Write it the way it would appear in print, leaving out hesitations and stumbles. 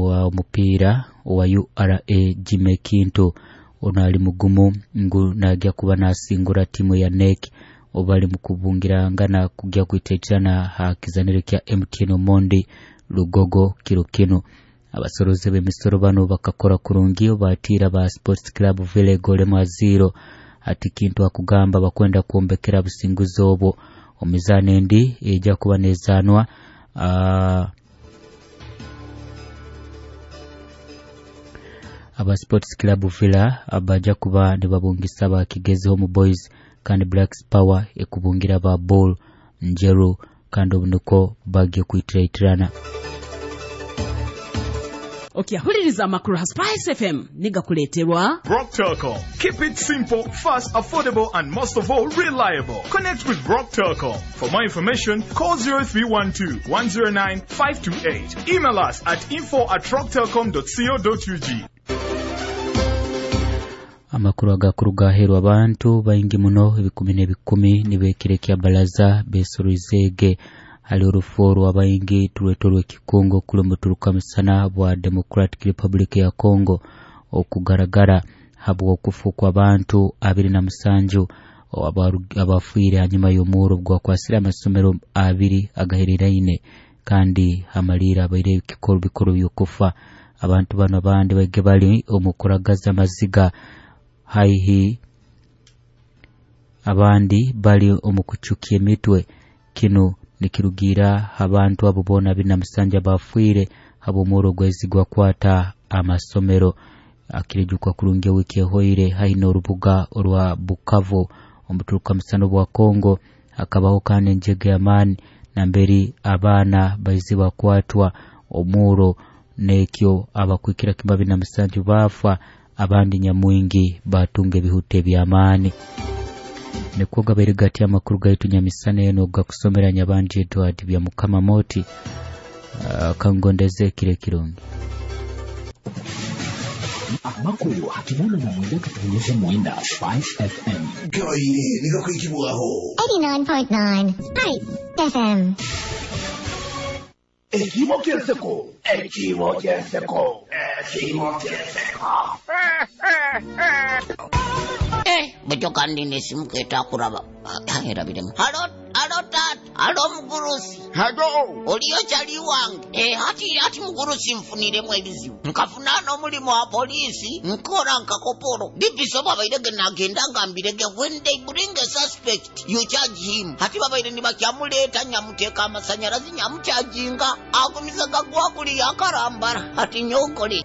Wa omupiira owa URA Jimmy Kintu ono ali mugumu ngu naagya kuba nasingura tiimu eya NEC obu bali mukubungirangana kugya kwitaitirana ha kizaniro kya MTN Omondi Lugogo kiro kinu. Abasoroze b'emisoro bano bakakora kurungi obu baatiira ba Sports Club Villa egoolo emu ha ziiro. Hati Kintu akugamba bakwenda kwombekera businguzi obwo omu mizaano endi eija kuba nezaanwa. Aba Sports Club Villa baja kuba nibabungisa aba Kigezi Home Boys kandi Blacks Power ekubungira aba Bull Njeru kandi obu nikwo bagiye kwitirayitirana. Okyahuliriza amakuru ha Spice FM nigakuleeterwa Rock Telcom. Keep it simple, fast, affordable, and most of all, reliable. Connect with Rock Telcom. For more information, call 0312 109 528. Email us at info@rocktelcom.co.ug. Amakuru agakuruga aheeru, abantu baingi muno ebikumi n'ebikumi nibeekira ekya baraza besoroizeege hali orufu orw'abaingi turweta orw'ekikungo kuli omuturuka musana bwa Democratic Republic ya Congo okugaragara habw'okufa kw'abantu 27 abafiire hanyuma y'omuhuro ogwakwasire amasomero abiri agahereraine kandi hamaliire abaire ebikoro bikuru by'okufa. Abantu bano abandi baige bali omu kuragaza amaziga haihi, abandi bali omu kucukya emitwe. Kinu nikirugiira abantu abo boona 27 abafiire habw'omuhuro ogwaizi gwakwata amasomero. Akirijukwa kurungi wiiki ehoire haihi n'orubuga orwa Bukavu omuturuka musana bwa Congo hakabaho kandi enjega y'amaani namberi abaana baize bakwatwa omuuro n'ekyo abakwikira kimu 27 baafa, abandi nyamwingi batunga ebihuta eby'amaani. Nikwo gabaire gati amakuru gaitu nyamisana eno gakusomera Nyabandi Edward bya Mukama Moti. Kangondeze ekiro ekirungi. Amakuru ha 89.9 Spice FM. Gabaire nigakwikibwaho. 89.9 Spice FM. Ekiimo ky'enseko, ekiimo ky'enseko, ekiimo ky'enseko. Bwekyo kandi nesimu ketakuraba erabiremu. Halo, halo taata, halo mugurusi. Halo. Oliyo kyali wange? Hati mugurusi, nfuniremu ebizibu, nkafuna n'omulimu wa poliisi, nkora nka kopolo dipiso. Babairege nagenda nga mbirege, when they bring a suspect you charge him. Hati babaire nibakyamuleeta, nyamuteeka amasanyarazi, nyamukyajinga, agumisa gagwakuli yakarambara. Hati nyonkole.